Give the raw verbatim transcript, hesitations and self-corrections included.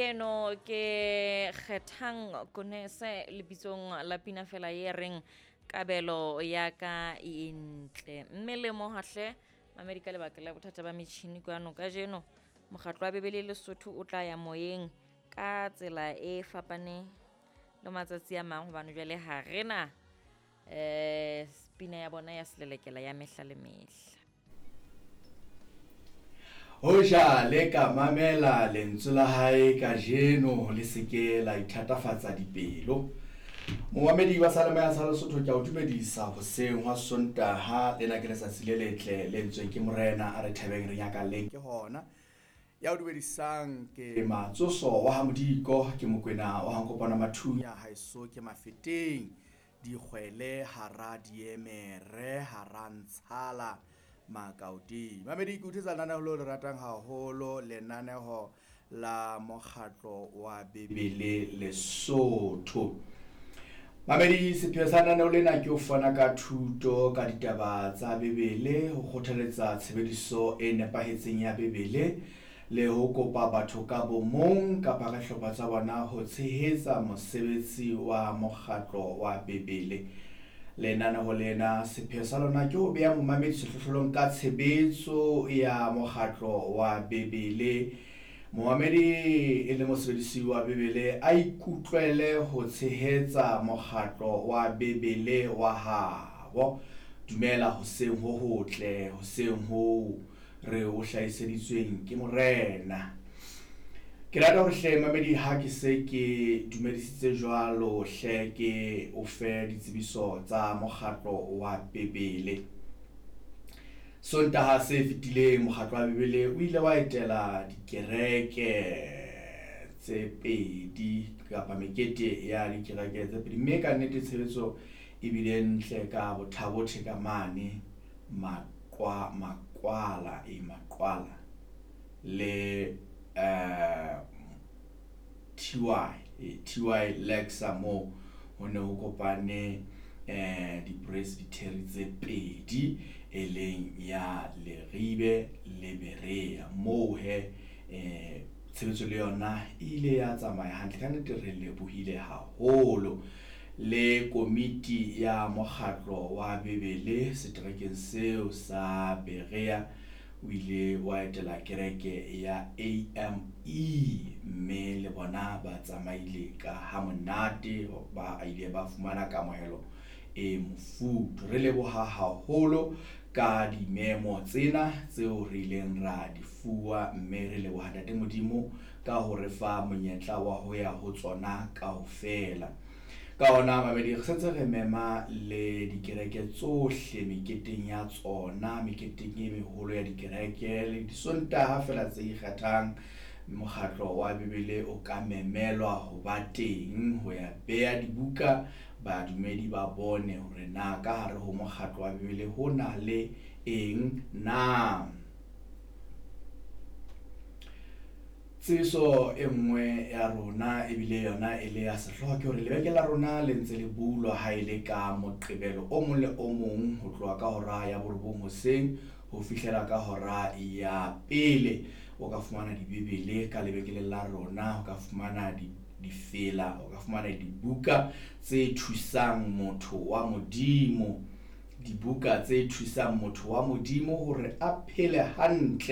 Eno ke Kgethang Konese lebitsong la pina fela e reng kabelo ya ka e ntle. Mme le mohahle mamedi ka lebaka la bothata ba metjhini kwano kajeno mokgatlo wa Bebele Lesotho o tla ya moyeng ka tsela e fapaneng le matsatsi a mang hobane jwale ha rena eh pina ya bona ya selelekela ya mehla le mehla. Hoja le ka mamela lentswe la hae kajeno le se ke la ithatafatsa dipelo. Momamedi wa Seyalemoya sa Lesotho ke a o dumedisa hoseng hwa Sontaha. Lena ke letsatsi le letle le entsweng ke Morena, a re thabeng re nyakalleng ke hona. Ya o dumedisang ke Matsoso wa ha Modiko, ke Mokwena wa ha Nkopana Mathunya, haeso ke Mafeteng, dikgwele hara diemere hara ntshala Makauding. Mamedi, ke uthetsa lenaneo leo le ratang haholo, lenaneo la mokgatlo wa Bebele Lesotho. Mamedi, sepheo sa lenaneo lena ke ho fana ka thuto ka ditaba tsa Bebele, ho kgothaletsa tshebediso e nepahetseng ya Bebele le ho kopa batho ka bomong kapa ka hlopha tsa bona ho tshehetsa mosebetsi wa mokgatlo wa Bebele. Lenaneo lena sepheo sa lona ke ho beha momamedi sehlohlolong ka tshebetso ya mokgatlo wa Bebele. Momamedi e le mosebedisi wa Bebele a ikutlwele ho tshehetsa mokgatlo wa Bebele wa habo. Dumela hoseng ho hotle, hoseng ho re o hlahiseditsweng ke Morena. Ke rata hore hle mamedi ha ke se ke dumedisitse jwalo hle ke o fe ditsebiso tsa mokgatlo wa Bebele. Sontaha se fetileng mokgatlo wa Bebele o ile wa etela dikereke tse pedi kapa mekete ya dikereke tse pedi, mme ka nnete tshebetso e bile ntle ka bothabothe ka mane Maqwa, Maqwala e Maqwala le eh T Y T Y Lexa mo ho ne ho kopane eh di-presbytery tse pedi e leng ya Leribe le Berea. Moo he eh tshebetso le yona e ile ya tsamaya hantle ka nnete, re lebohile haholo. Le komiti ya mokgatlo wa Bebele seterekeng seo sa Berea o ile wa etela kereke ya A M E, mme le bona ba tsamaile ka ha monate, ba ile ba fumana kamohelo e mofuthu. Re leboha haholo ka dimemo tsena tseo re ileng ra di fuwa, mme re leboha Ntate Modimo ka ho re fa monyetla wa ho ya ho tsona kaofela. Ka hona mamedi, re sentse re mema le dikereke tsohle meketeng ya tsona, meketeng e meholo ya dikereke le disontaha fela tse ikgethang. Mokgatlo wa Bebele o ka memelwa ho ba teng ho ya beha dibuka, badumedi ba bone hore na ka hare ho mokgatlo wa Bebele ho na le eng na. Tsebiso e nngwe ya rona ebile yona e le ya sehlooho ke hore lebeke la rona le ntse le bulwa ha e le ka Moqebelo o mong le o mong ho tloha ka hora ya borobong hoseng ho fihlela ka hora ya pele. O ka fumana dibebele ka lebekeleng la rona, o ka fumana difela, o ka fumana dibuka tse thusang motho wa Modimo, dibuka tse thusang motho wa Modimo hore a phele hantle.